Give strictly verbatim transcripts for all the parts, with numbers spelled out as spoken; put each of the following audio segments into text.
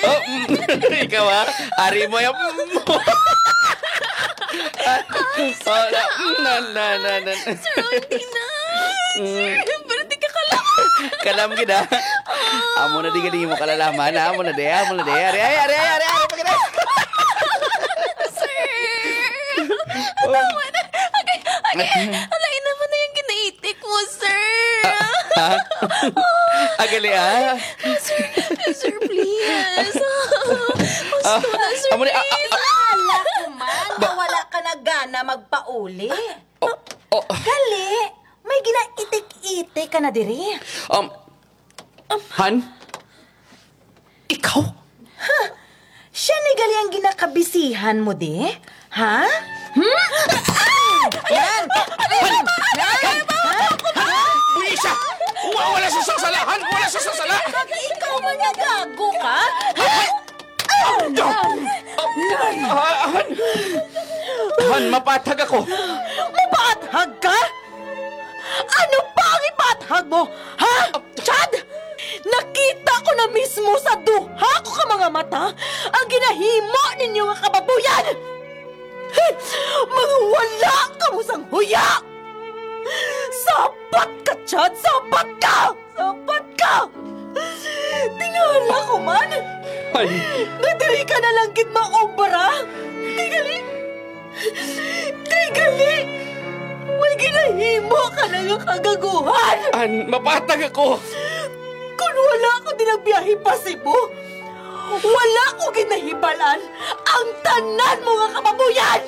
Oh, mm, ikaw, ha? Ari mo yung, mm. Oh, na, mm, na, na, na, na. Sir, hindi na. Mm. Sir, pero di ka kalam. Kalam gid, ha? Amo na di galing mo kalalaman, ha? Amo na di, amo na di. Ari, ari, ari, ari, ari, ari, pagkita. Sir. Tama na. Okay, okay. Alain naman na yung ginaitik mo, sir. Ah, ha? Agali, ah. Sir, sir, please. Ah, Gusto na, sir, amo ni, ah, please. Ala ko man, nga wala ka na gana magpauli. Oh, oh. Gali, may ginaitik-itik ka na diri. Um, Han? Ikaw? Siya ni gali ang ginakabisihan mo di? Ha? Hmm? Ah! Yan! Yan! Yan! Ha? Buwisa! Wa-, wala sa sasala! Han, wala sa sasala! Ikaw man nga gago ka? Ah, Han! Han, mapaathag ako! Mapaathag ka? Ano pa ang ipaathag mo? Ha? Chad! Nakita ko na mismo sa duha ko ka mga mata ang ginahimo ninyo nga kababuyan! Mga wala kamo sang huya! Sapat ka, Chad! Sapat ka! Sapat ka! Tingala ko man! Ay. Nga diri ka na lang gid maobra! Kay gali, kay gali, may ginahimo ka na nga kagaguhan! Han, mapaathag ako! Kung wala ko din nagbiyahe pa Cebu, wala ko gid nahibalan ang tanan mo nga kababuyan!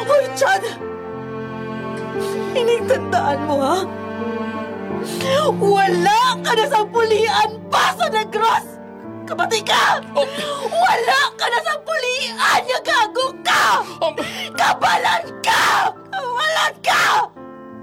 Hoy, Chad! Ining tandaan mo, ha? Wala ka na sa pulian pa sa Negros! Kabati ka! Oh. Wala ka na sa pulian nga gago ka! Oh. Kabalan